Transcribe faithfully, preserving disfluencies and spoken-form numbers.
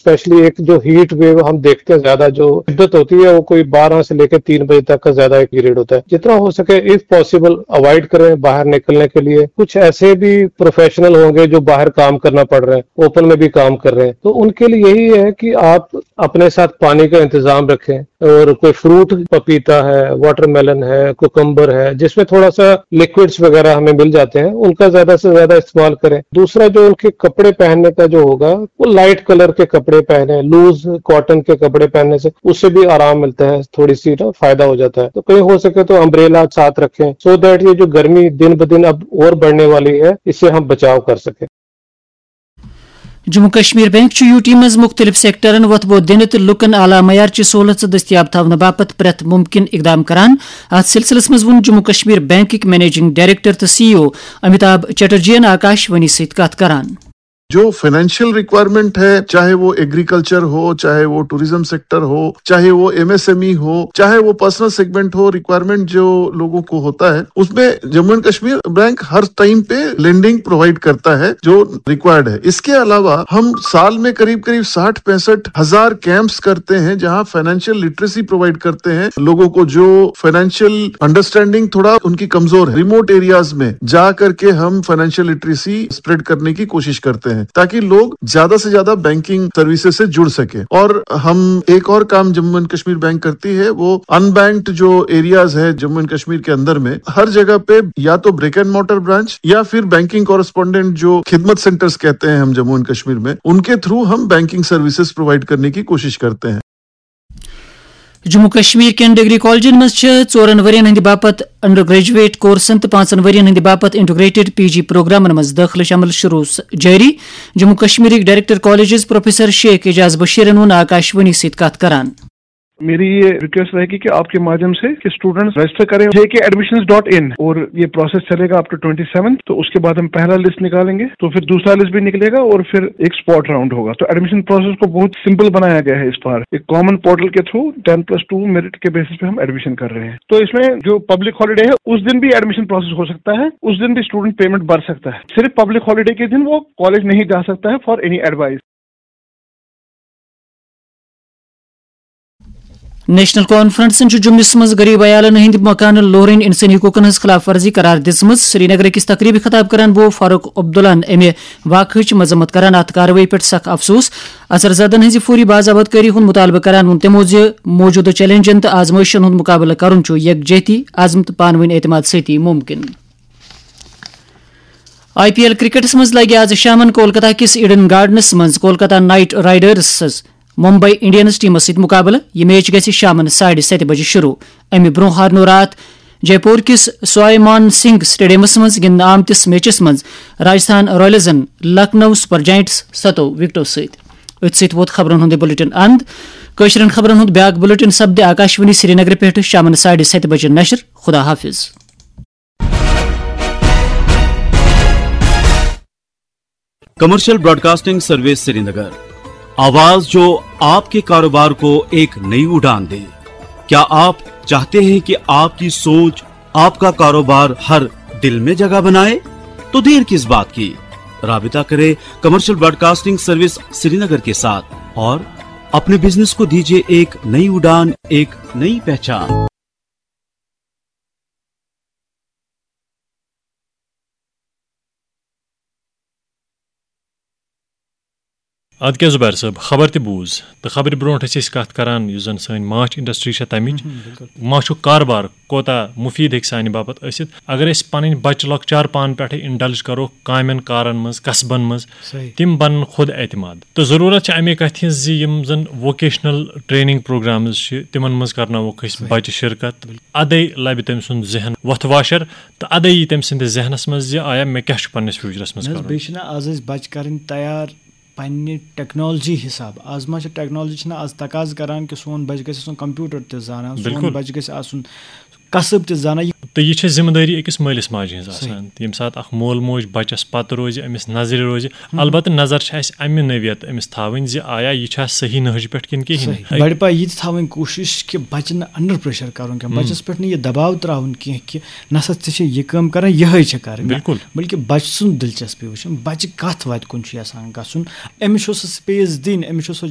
Specially एक जो heat wave हम देखते हैं, ज्यादा जो शिद्दत होती है, वो कोई बारह से लेकर तीन बजे तक का ज्यादा एक पीरियड होता है। जितना हो सके, इफ पॉसिबल, अवॉइड करें बाहर निकलने के लिए। कुछ ऐसे भी प्रोफेशनल होंगे जो बाहर काम करना पड़ रहे हैं, ओपन में भी काम कर रहे हैं, तो उनके लिए यही है कि आप अपने साथ पानी का इंतजाम रखें, और कोई फ्रूट, पपीता है, वाटरमेलन है, कुकम्बर है, जिसमें थोड़ा सा लिक्विड्स वगैरह हमें मिल जाते हैं, उनका ज्यादा से ज्यादा इस्तेमाल करें। दूसरा, जो उनके कपड़े पहनने का जो होगा, वो लाइट कलर के कपड़े पहने, लूज कॉटन के कपड़े पहनने से उससे भी आराम मिलता है, थोड़ी सी ना फायदा हो जाता है। तो कहीं हो सके तो अम्ब्रेला साथ रखें, सो दैट ये जो गर्मी दिन ब दिन अब और बढ़ने वाली है, इससे हम बचाव कर सकें। جموں کشمیر بینک چھُ یوٗ ٹی منٛز مُختٔلِف سیکٹرن وۄتھٕ بوٚد دِنہٕ تہٕ لوٗکَن اعلیٰ معیارٕچہِ سہوٗلژٕ دٔستیاب تھاونہٕ باپتھ پرٛٮ۪تھ مُمکِن اِقدام کران۔ اَتھ سلسلس منٛز ووٚن جموں کشمیر بینکٕکۍ منیجنگ ڈائریکٹر تہٕ سی ای او امیتابھ چٹرجی یَن آکاش وانی سۭتۍ کتھ کران۔ جو فنانشل ریکوائرمنٹ ہے، چاہے وہ ایگریکلچر ہو، چاہے وہ ٹورزم سیکٹر ہو، چاہے وہ ایم ایس ایم ای ہو، چاہے وہ پرسنل سیگمنٹ ہو، ریکوائرمنٹ جو لوگوں کو ہوتا ہے، اس میں جموں اینڈ کشمیر بینک ہر ٹائم پہ لینڈنگ پرووائڈ کرتا ہے جو ریکوائرڈ ہے۔ اس کے علاوہ ہم سال میں قریب قریب ساٹھ پینسٹھ ہزار کیمپس کرتے ہیں، جہاں فنانشل لٹریسی پرووائڈ کرتے ہیں لوگوں کو، جو فنانشل انڈرسٹینڈنگ تھوڑا ان کی کمزور ہے، ریموٹ ایریاز میں جا کر کے ہم فنانشل لٹریسی اسپریڈ کرنے کی کوشش کرتے ہیں، تاکہ لوگ زیادہ سے زیادہ بینکنگ سروسز سے جڑ سکے۔ اور ہم ایک اور کام جموں اینڈ کشمیر بینک کرتی ہے، وہ ان بینکڈ جو ایریاز ہے جموں اینڈ کشمیر کے اندر میں، ہر جگہ پہ یا تو بریک اینڈ مارٹر برانچ یا پھر بینکنگ کورسپونڈنٹ، جو خدمت سینٹرز کہتے ہیں ہم جموں اینڈ کشمیر میں، ان کے تھرو ہم بینکنگ سروسز پرووائڈ کرنے کی کوشش کرتے ہیں۔ جموں کشمیر کٮ۪ن ڈگری کالجن منٛز چھِ ژورن ؤرین ہٕنٛدِ باپتھ انڈر گریجویٹ کورسن تہٕ پانٛژن ؤرین ہٕنٛدِ باپتھ انٹیگریٹڈ پی جی پروگرامن منٛز دٲخلہٕ عمل شروع س-، جٲری۔ جموں کشمیرٕکۍ director colleges professor Sheikh Ejaz بشیرن ووٚن آکاش وانی سۭتۍ کتھ کران۔ میری یہ ریکویسٹ رہے گی کہ آپ کے مادھیم سے کہ اسٹوڈنٹس رجسٹر کریں جے کے ایڈمیشن ڈاٹ ان، اور یہ پروسیس چلے گا اپ ٹو ٹوئنٹی سیونتھ۔ تو اس کے بعد ہم پہلا لسٹ نکالیں گے، تو پھر دوسرا لسٹ بھی نکلے گا اور پھر ایک اسپاٹ راؤنڈ ہوگا۔ تو ایڈمیشن پروسیس کو بہت سمپل بنایا گیا ہے اس بار۔ ایک کامن پورٹل کے through ten plus two merit کے بیسس پہ ہم ایڈمیشن کر رہے ہیں۔ تو اس میں جو پبلک ہالیڈے ہے، اس دن بھی ایڈمیشن پروسیس ہو سکتا ہے، اس دن بھی اسٹوڈنٹ پیمنٹ بھر سکتا ہے۔ صرف پبلک ہالیڈے کے دن وہ کالج نہیں جا سکتا ہے فار اینی ایڈوائس۔ نیشنل کانفرنسن چھُ جوٚمِس منٛز غریب عیالن ہٕنٛدِ مکانہٕ لوٗرٕنۍ انسٲنی حقوٗقن ہٕنٛز خلاف ورزی قرار دِژمٕژ۔ سری نگر أکِس تقریبہِ خطاب کران بوو فاروق عبداللہن امہِ واقعٕچ مذمت کران، اتھ کاروٲیی پٮ۪ٹھ سخ افسوس۔ اثر زدن ہٕنٛزِ فوری باضابطکٲری ہُنٛد مطالبہٕ کران ووٚن تِمو زِ موجودٕ چیلنجن تہٕ آزمٲیشن ہُنٛد مقابلہٕ کرُن چھُ یکجہتی، عزم تہٕ پانہٕ ؤنۍ اعتماد سۭتی مُمکِن۔ آئی پی ایل کرکٹس منٛز لگہِ آز شامن کولکتہ کِس ایڈن گارڈنس منٛز کولکتہ نائٹ رائیڈرسس ممبئی انڈینز ٹیمس سۭتۍ مقابلہٕ۔ یہِ میچ گژھِ شامن ساڑِ ستہِ بجہِ شروع۔ امہِ برونٛہہ ہارنو راتھ جے پور کِس سوائے مان سنگھ سٹیڈیمس منٛز گِنٛدنہٕ آمتِس میچس منٛز راجستھان رائلزن لکھنؤ سپر جائنٹس ستو وکٹو سۭتۍ۔ أتھۍ سۭتۍ ووت خبرن ہُنٛد یہِ بلیٹن اند۔ کٲشرٮ۪ن خبرن ہُنٛد بیٛاکھ بلیٹن سپدِ آکاشوانی سرینگرٕ پٮ۪ٹھٕ شامن ساڑِ ستہِ بجہِ نشر۔ خدا حافظ۔ کمرشل براڈکاسٹنگ سروس سرینگر، آواز جو آپ کے کاروبار کو ایک نئی اڑان دے۔ کیا آپ چاہتے ہیں کہ آپ کی سوچ آپ کا کاروبار ہر دل میں جگہ بنائے؟ تو دیر کس بات کی؟ رابطہ کرے کمرشل براڈکاسٹنگ سروس سرینگر کے ساتھ اور اپنے بزنس کو دیجیے ایک نئی اڑان، ایک نئی پہچان۔ ادٕ کیٛاہ زُبیر صٲب، خبر تہِ بوٗز، تہٕ خبرِ برونٛٹھ ٲسۍ أسۍ کتھ کران، یُس زن سٲنۍ ماچھ انڈسٹری چھےٚ، تمِچ ماچھُک کاربار کوتاہ مُفیٖد ہیٚکہِ سانہِ باپتھ ٲسِتھ۔ اگر أسۍ پنٕنۍ بچہِ لۄکچار پانہٕ پٮ۪ٹھے انڈلج کرو کامٮ۪ن کارن منٛز، کسبن منٛز، تِم بنن خود اعتماد۔ تہٕ ضروٗرت چھِ امے کتھِ ہٕنٛز زِ یِم زن ووکیشنل ٹریننگ پروگرامز چھِ، تِمن منٛز کرناووکھ أسۍ بچہِ شرکت۔ ادے لبہِ تٔمۍ سُنٛد ذہن وۄتھٕ واشر، تہٕ ادے یی تٔمۍ سٕنٛدِس ذہنس منٛز زِ آیا مےٚ کیٛاہ چھُ پننِس فیوچرس منٛز کرُن۔ بیٚیہِ چھِنہ آز أسۍ بچہِ کرٕنۍ تیار پننہِ ٹیکنالوجی حساب۔ آز ما چھِ ٹیکنالوجی چھِنہ آز تقاضہٕ کران کہِ سون بچہِ گژھِ آسُن کمپیوٹر تہِ زانان، سون بچہِ گژھِ آسُن کسب تہِ زانان۔ یہِ تہٕ یہِ چھےٚ ذمہٕ دٲری أکِس مٲلِس ماجہِ ہٕنٛز آسان، ییٚمہِ ساتہٕ اکھ مول موج بچس پتہٕ روزِ، أمِس نظرِ روزِ، البتہٕ نظر چھِ اَسہِ اَمہِ نوعیت أمِس تھاوٕنۍ زِ آیا یہِ چھا صحیح نہج پٮ۪ٹھ کِنہٕ کِہیٖنۍ۔ بڑِ پاے یہِ تہِ تھاوٕنۍ کوٗشِش کہِ بچہِ نہٕ under pressure کرُن کینٛہہ، بچس پٮ۪ٹھ نہٕ یہِ دباو تراوُن کینٛہہ کہِ نسا ژےٚ چھے یہِ کٲم کرٕنۍ، یِہے چھےٚ کرٕنۍ، نہ، بِلکُل۔ بلکہِ بچہٕ سُنٛد دلچسپی وٕچھُن، بچہِ کتھ وتہِ کُن چھُ یژھان گژھُن، أمِس چھُ سُہ space دِنۍ، أمِس چھُ سُہ